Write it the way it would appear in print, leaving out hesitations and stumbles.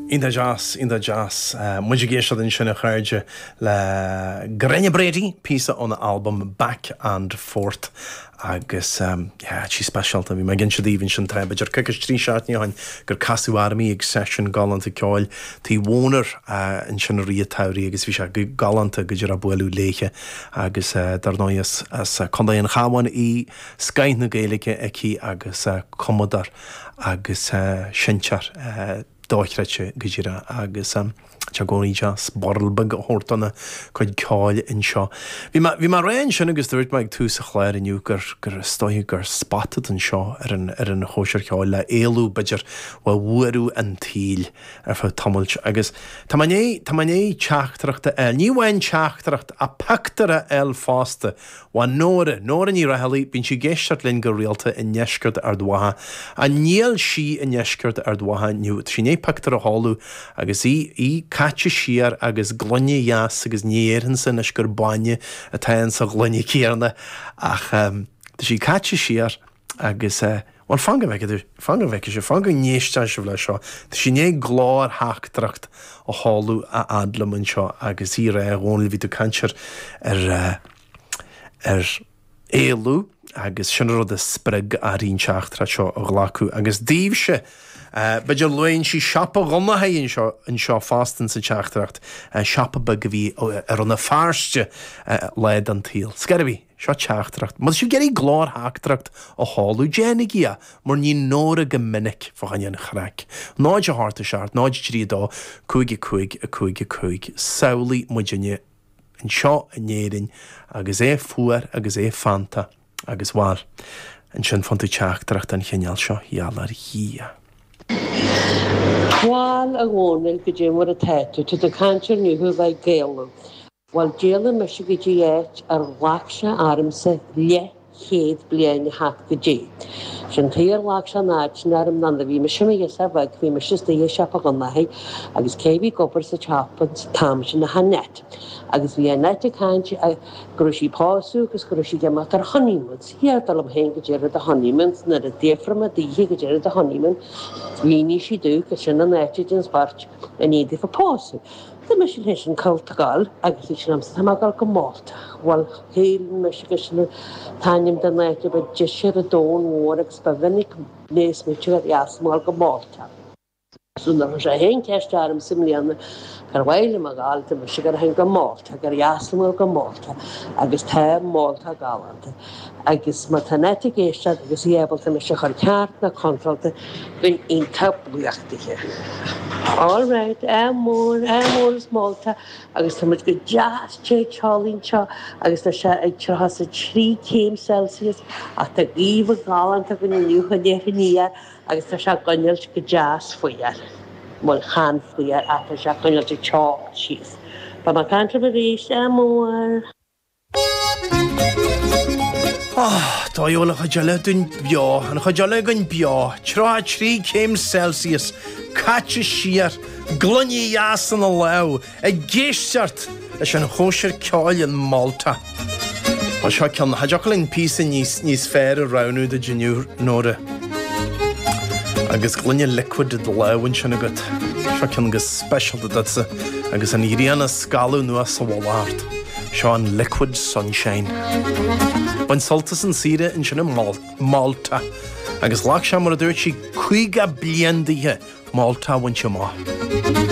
Iontach deas, iontach deas. Muid ag éisteacht ansin a chairde le Gráinne Brady, píosa óna albam Back and Forth agus yeah, tá sí speisialta. Bhí mé ag inse daoibh ansin tá b'fhéidir coicís, 3 seachtaine ó shin gur casadh orm í ag seisiún galánta ceoil Tigh Mhónair ansin i rith an tsamhraidh agus bhí sé galánta go díreach bualadh léithe agus dar ndóigh as as Contae an Chabháin í, scoth na Gaeilge aici agus cumadóir agus seinnteoir dochreidte go díreach agus tá sé i gcónaí deas borradh beag a thabhairt dona cuid ceoil anseo. Bhí mé bhí mé ag rá ansin agus dúirt mé ag tús an chláir inniu gur gur is dóigh gur spot atá anseo ar an ar an chóisir cheoil le éalú b'fhéidir ó bhuaireamh an tsaoil ar feadh tamaill agus tá mé i ndiaidh tá mé i ndiaidh teachtaireacht a fháil, ní amháin teachtaireacht ach pictiúr a fháil fosta Ó Nóra, Nóra Ní Raghallaigh, bíonn sí ag éisteacht linn go rialta i ndeisceart Ard Mhacha. Ach níl sí i ndeisceart Ard Mhacha inniu. Tá sí i ndiaidh pictiúr a sheoladh agus í, í caite siar agus gloine dheas agus ní dhéarfainnse anois gur bainne atá insa ghloine céanna ach tá sí caite siar agus eh, bhuel fan go bhfeicfidh tú, fan go bhfeicfidh sibh, fan go n-éistfidh sibh leis seo. Tá sí i ndiaidh glórtheachtaireacht a sheoladh a fhad liom anseo agus í ag rá, a Dhónaill, bhí tú ag caint ar, ar eh, ar éalú agus sin an rud a spreag uirthi an teachtaireacht seo a ghlacadh agus daoibhse, b'fhéidir luann sí siopa Dhonnchaidh anseo, anseo fosta insa teachtaireacht, siopa beag a bhí i Rann na Feirste lá den tsaol. Scor ar bith, seo teachtaireacht. Má tá sibh ag iarraidh glórtheachtaireacht a sheoladh, déanaigí é, mar ní Nóra go minic fá choinne an chraic. 0 8 7 0 3 2 5 5 5 5 Samhlaigh muidinne anseo in Éirinn agus é fuar agus é feannta agus, bhal, ansin faigheann tú teachtaireacht den chineál seo, gheall ar Dhia. Bhal, a Dhónaill, goidé mar atá tú? Tá tú ag caint ar inniu a bheith ag éalú. Bhal, d'éalaigh mise go dtí áit ar ghlac sé ormsa leath chéad bliain a theacht go dtí. Sin tuige ar ghlac sé an áit sin orm ná nuair a bhí mise i mo ghirseach bheag bhí mise istigh i siopa Dhonnchaidh agus cé a bhí ag obair sa tsiopa an t-am sin ach Annette. Agus bhí Annette ag caint go raibh sí ag pósadh agus go raibh sí ag imeacht ar honeymoon. 'S deirtear liom féin goidé rud a honeymoon 's nuair a d'fhiafraigh mé daoithi goidé rud a honeymoon mhínigh sí domh gur sin an áit den spóirt i ndiaidh daofa pósadh. Tá mise leis an cult ag gabháil agus bhí sé liomsa, tá mé ag gabháil go Málta. Bhuel, shíl mise gur sin an t-ainm den áit a ba deise ar an domhan mhór agus ba mhinic mé ag smaoitiú ar dheas ag gabháil go Málta. So nuair a chuir sé féin ceist ormsa i mbliana cár mhaith liom a ghabháil, dúirt mise go rachainn go Málta, gur dheas liom a ghabháil go Málta agus tá Málta galánta. Agus má tá Annette ag éisteacht agus í ábalta mise a chur ceart nó contráilte, bheinn iontach buíoch dithe. All right, ádh mór, ádh mór as Málta agus tá muid go deas te teolaí anseo agus tá sé ag 33 céim Celsius ach tá gaoth ghalánta againn inniu an iarthar aniar agus tá sé ag coinneáilt go deas fuar. Bhuel, chan fuar ach tá sé ag coinneáilt ag teocht síos. Beidh mé ag caint libh arís, ádh mór! Dóigh a bhfuil an chuid eile dúinn beo, an chuid eile againn beo, 33 céim Celsius, caite siar, gloine dheas ina lámh, ag éisteacht leis an chóisir ceoil in Malta. Bhuel, seo ceann, cha dtiocfadh linn píosa níos, níos fearr a roghnú duit inniu, Nóra. Agus gloine liquid i do lámh ansin agat. Seo ceann go speisialta duitse agus an ghrian ag scalladh anuas sa mhullach ort. Seo an Liquid Sunshine. Bain sult as an saoire ansin i Malta agus ghlac sé, mar a dúirt sí, 50 bliain daoithe Malta a bhaint amach.